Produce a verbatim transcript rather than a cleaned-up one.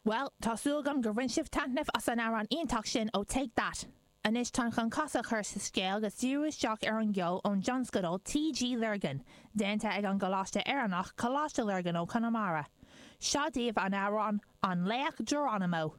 Well, tá súil agam gur bhain sibh taitneamh as an amhrán iontach sin ó Take That. Anois táim chun casadh a chur sa scéal agus díriú isteach ar an gceol ón dtionscadal TG Lurgan, déanta ag an gColáiste Éireannach Coláiste Lurgan ó Conamara. Seo daoibh an amhrán an Laoch Geronimo.